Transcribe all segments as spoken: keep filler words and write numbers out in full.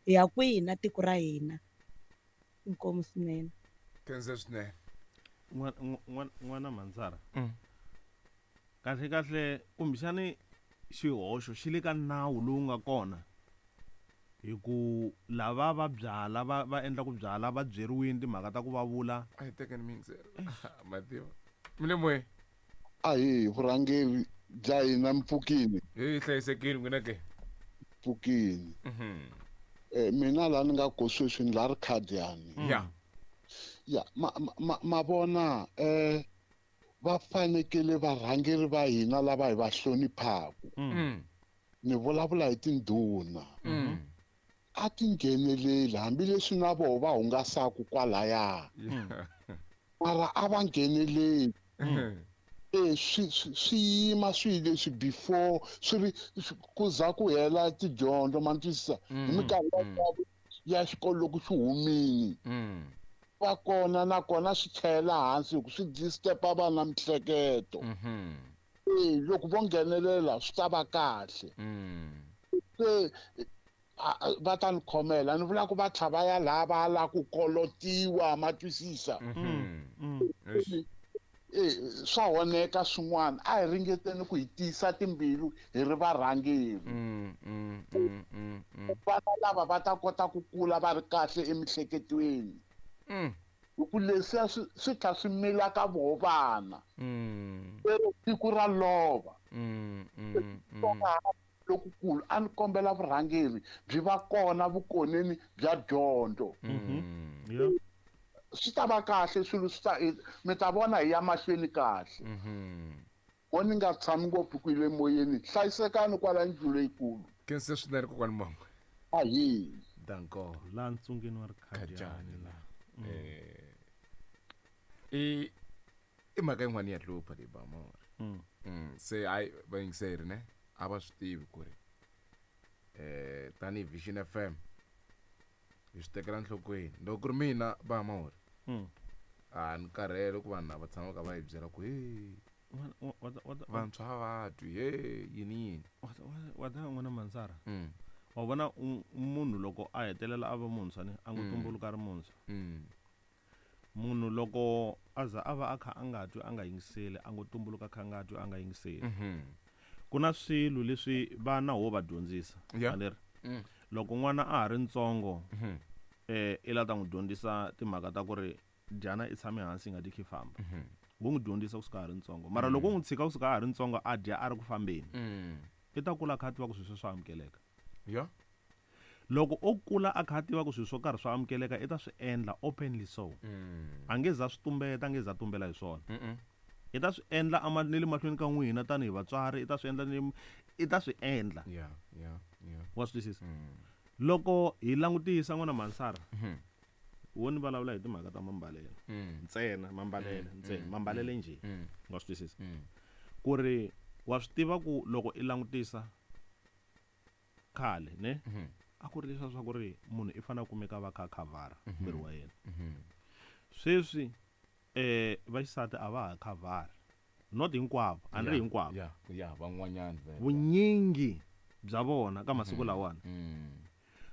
Hi ya kwihi na tiko ra hina? Inkomu swinene. Khensa swinene. N'wana Mhandzara. Kahle kahle kumbexani xihoxo xi le ka nawu lowu nga kona hi ku lava va byala va va endla ku byala va byeriwini timhaka ta ku va vula. A hi tekeni miyingiselo. Mativa. Mi le moyeni. A hi vurhangeri bya hina mpfukini. Hi hlayisekile n'wina ke. Mpfukini. Eh mina la ni nga ko sweswi ni la ri khadiyani. Ya. Ya ma ma ma vona eh va fanekele varhangeri va hina lava hi va hloniphaku. Ni vulavula hi tindhuna. A ti ngheneleli hambileswi na voho va hungasaku kwalaya. Mara a va ngheneleli. Eh swi swi yima swi leswi before swi ri ku za ku hela tidyondzo ma twisisa hi minkarhi ya xikolo loko xi humini. Va kona nakona swi tlhela hansi hi ku swi disturb-a vana miehleketo. Eh loko vo nghenelela swi ta va kahle. Se va ta ni khomela ni vula ku va tlha va ya laha va la ku kolotiwa ma twisisa. Eh swa honeka swin'wana a hi ringeteni ku hi tiyisa timbilu hi ri varhangeri. Vana lava va ta kota ku kula va ri kahle emiehleketweni. Hi ku leswiya swi swi tlha swi mila ka voho vana. Lero siku ra lova. Lokukulu a ni kombela vurhangeri byi va kona vukoneni bya dyondzo. Swi ta va kahle swilo swi ta mi ta vona hi ya mahlweni kahle. Mo ni nga tshami ngopfu ku ile moyeni hlayisekani kwala ndlu leyikulu. Khensa swinene kokwani Mangwe. Ahi. Danko. La ntsungeni wa Rikhadiyani la. Eh i i mhaka yin'wana ya hlupha leyi ba mori. Se ai va yingiseri ne a va swi tivi ku ri eh tanihi Vision F M hi swi tekela nhlokweni loko ku ri mina ba mori. A ni karhele ku vanhu lava tshamaka va hi byela ku he vantshwa va twi he yini yini. Wa ta n'wana Mhandzara. Wa vona munhu loko a hetelela a va muntshwa ni a ngo tumbuluka ri muntshwa. Munhu loko a za a va a kha a nga twi a nga yingiseli a ngo tumbuluka kha a nga twi a nga yingiseli. Ku na swilo leswi vana ho va dyondzisa. Aleri loko n'wana a ha ri ntsongo eh i la ta n'wi dyondzisa timhaka ta ku ri dyana i tshame hansi i nga dyi khe famba. Wo n'wi dyondzisa kusuka a ha ri ntsongo. Mara loko u n'wi tshika kusuka a ha ri ntsongo a dya a ri ku fambeni. I ta kula a kha a tiva ku swilo sweswo swa amukeleka. Ya. Loko o kula a kha a tiva ku swilo swo karhi swa amukeleka i ta swi endla openly so. A nge za swi tumbeta, a nge za tumbela hi swona. I ta swi endla a ma ni le mahlweni ka n'wina tanihi vatswari, i ta swi endla ni i ta swi endla. Ya, ya, ya. Wa swi twisisa? Loko hi langutisa n'wana Mhansara, wo ni vulavula hi timhaka ta mambalelo. Ntsena mambalelo, ntsena mambalelo njhe. Wa swi twisisa? Ku ri wa swi tiva ku loko i langutisa khale ne? A ku ri leswiya swa ku ri munhu i fanele a kumeka va kha a khavhara miri wa yena. Sweswi eh vaxisati a va ha khavhari. Not hinkwavo, a ni ri hinkwavo. Ya, ya, van'wanyana vhele. Vunyingi bya vona ka masiku lawani.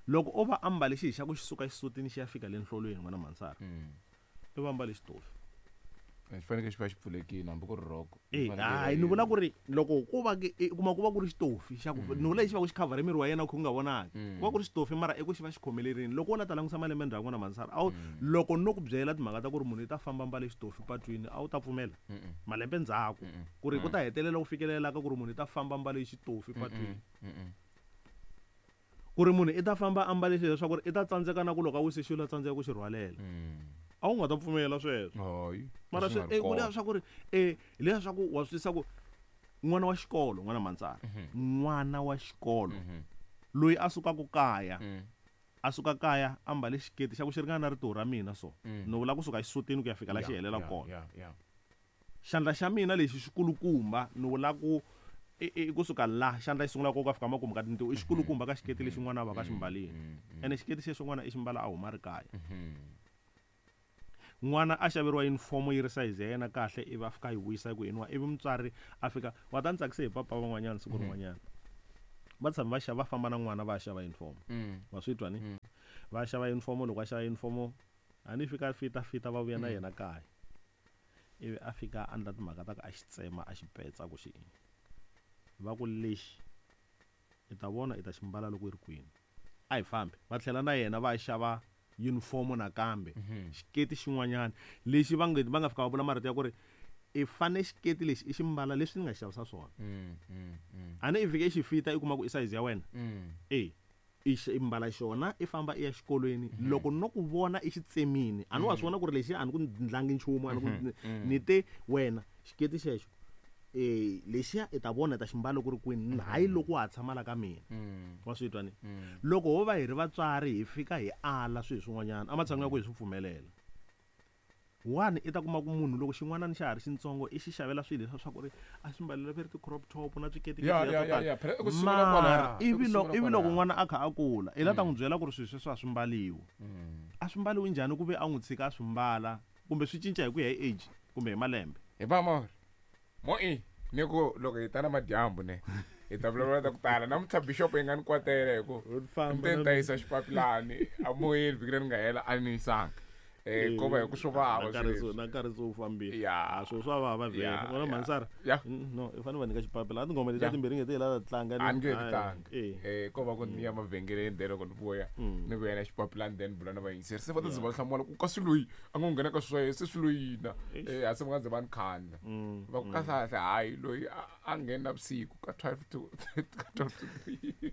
Loko o va ambale xihi xa ku xi suka xisutini xi ya fika le nhlolweni n'wana Mhansara. I va ambale xitofi. Xi fanekele xi va xi pfulekile hambi ku ri rhoko. Eh, hayi ni vula ku ri loko ku va ke, i kuma ku va ku ri xitofi xa ku ni vula lexi va ku xi khavhara miri wa yena ku nga vonaki. Ku va ku ri xitofi mara i ku xi va xi khomelerini. Loko wo la ta langusa malembe ndzhaku n'wana Mhansara, a wu loko no ku byela timhaka ta ku ri munhu i ta famba mbale xitofi patwini, a wu ta pfumela? Malembe ndzhaku ku ri ku ta hetelela ku fikelela ka ku ri munhu i ta famba mbale xitofi patwini. Ku ri munhu i ta famba a mbale xilo leswaku ri i ta tsandzeka na ku loko a wise xilo a tsandzeka ku xi rhwalela. A wu nga ta pfumela sweswo. Hayi, Mara swi swi, nga ri eh, ku kona. leswaku ri, eh, leswaku wa swi twisisa ku n'wana wa xikolo, n'wana Mhansara, n'wana wa xikolo loyi a sukaka kaya, a suka kaya a mbale xiketi xa ku xi ringana na ritiho ra mina so. Ni vula kusuka xisutini ku ya fika la xi helela kona. Xandla xa mina lexi xikulukumba ni vula ku i, i kusuka la xandla xi sungula ku ka fika makumu ka tintiho i xikulukumba ka xiketi lexi n'wana a va ka xi mbalini. Ene xiketi xexo n'wana i xi mbala a huma ri kaya. N'wana a xaveriwa uniform yi ri size ya yena kahle ivi a fika a yi vuyisa ku yiniwa ivi mutswari a fika wa ta ni tsakise hi papa van'wanyana siku rin'wanyana. Va tshama va xava va famba na n'wana va ya xava uniform. Wa swi twa ni? Va xava uniform, loko va xava uniform a ni fika fita fita va vuya na yena kaya. Ivi a fika a endla timhaka ta ku a xi tsema a xi petsa ku xi va ku lexi i ta vona i ta xi mbala loko i ri kwini. A hi fambi va tlhela na yena va xava uniform nakambe xiketi xin'wanyana lexi va nga va nga fika va vula marito ya ku ri i fane xiketi lexi i xi mbala leswi ni nga xavisa swona. A ni i fike i xi fita i kuma ku i size ya wena e i mbala xona i famba i ya xikolweni. Loko no ku vona i xi tsemini a ni wa swi vona ku ri lexi a ni ku ndlangi nchumu a ni ku ni te wena xiketi xexo eh lexiya i ta vona ta ximbalo ku ri kwini hayi loko wa ha tshama la ka mina. Wa swi twa ni? Loko ho va hi ri vatswari hi fika hi ala swilo swin'wanyana ematshan'wini ya ku hi swi pfumelela. One i ta kuma ku munhu loko xin'wana xa ha ri xintsongo i xi xavela swilo leswi swa ku ri a swi mbalela ve ri ti-crop top na swiketi mara ivi loko ivi loko n'wana a kha a kula i la ta n'wi byela ku ri swilo sweswo a swi mbaliwi. A swi mbaliwi njhani ku ve a n'wi tshika a swi mbala kumbe swi cinca hi ku ya hi age kumbe hi malembe? Hi va mo mo i ni ku loko hi ta na madyambu ne hi ta vulavula ta ku tala namuntlha bishop yi nga ni kwatela hi ku ni ta yisa xipapilani a moyeni vhiki leri nga hela a ni yisanga. Eh ko va hi ku swo vava sweswi na nkarhi se wu fambile. A swo swa vava vhele vona Mansara no i fanele va nyika xipapila a tinghoma leti timbirhi nge ti la ta tlanga a ni nge ti tlanga eh ko va ku ni ya mavhengeleni then loko ni vuya ni vuya na xipapilani then bula na vayingiseri se va ta ze va hlamula ku kasi loyi a ngo nghena ka swa se swi loyina eh a se va nga ze va ni khandla va ku kahle hayi loyi a nghena vusiku ka twelve to twelve to three.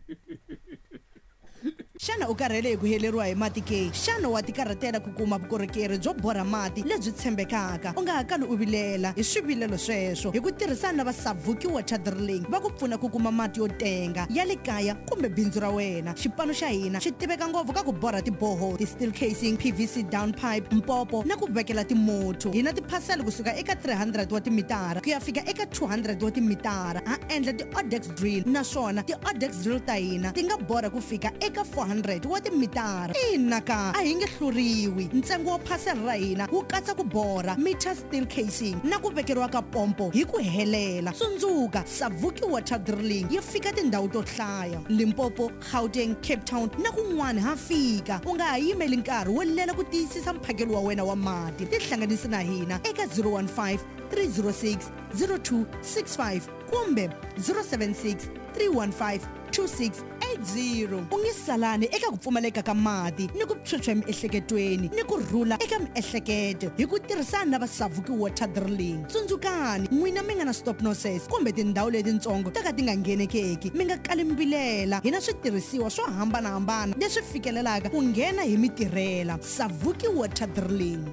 Xana u karhele hi ku heleriwa hi mati ke? Xana wa tikarhatela ku kuma vukorhokeri byo borha mati lebyi tshembekaka? U nga ha kali u vilela hi swivilelo sweswo hi ku tirhisana na va Savuki Water Drilling va ku pfuna ku kuma mati yo tenga ya le kaya kumbe bindzu ra wena. Xipano xa hina xi tiveka ngopfu ka ku borha tiboho, ti-steel casing, P V C down pipe, mpopo na ku vekela timotho. Hi na tiphasela kusuka eka three hundred wa timitara ku ya fika eka two hundred wa timitara. Ha endla ti-odex drill naswona ti-odex drill ta hina ti nga borha ku fika eka four hundred wa timitara. Ina ka a hi nge hluriwi. Ntsengo wa phasela ra hina wu katsa ku borha meter steel casing na ku vekeriwa ka pompo hi ku helela. Tsundzuka, Savuki Water Drilling yi fika tindhawu to hlaya: Limpopo, Gauteng, Cape Town na kun'wana ha fika. U nga ha yimeli nkarhi wo lela ku tiyisisa mphakelo wa wena wa mati. Tihlanganisi na hina eka zero one five three zero six zero two six five kumbe zero seven six three one five two six eight zero. U nge salani eka ku pfumaleka ka mati ni ku phyuphya emiehleketweni ni ku rhula eka miehleketo hi ku tirhisana na va Savuki Water Drilling. Tsundzukani, n'wina mi nga na stop nonsense kumbe tindhawu letitsongo ta ka ti nga nghenekeki, mi nga kali mbilela. Hi na switirhisiwa swo hambanahambana leswi fikelelaka ku nghena hi mitirhela. Savuki Water Drilling.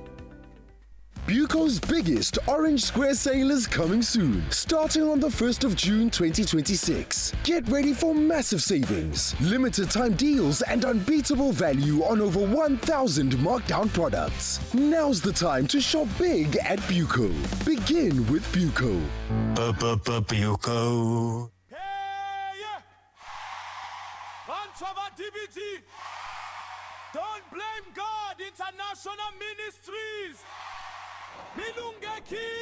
Buco's biggest Orange Square sale is coming soon, starting on the first of June twenty twenty-six. Get ready for massive savings, limited time deals, and unbeatable value on over one thousand markdown products. Now's the time to shop big at Buco. Begin with Buco. Buco. Don't blame God, International Ministries. Milungeki.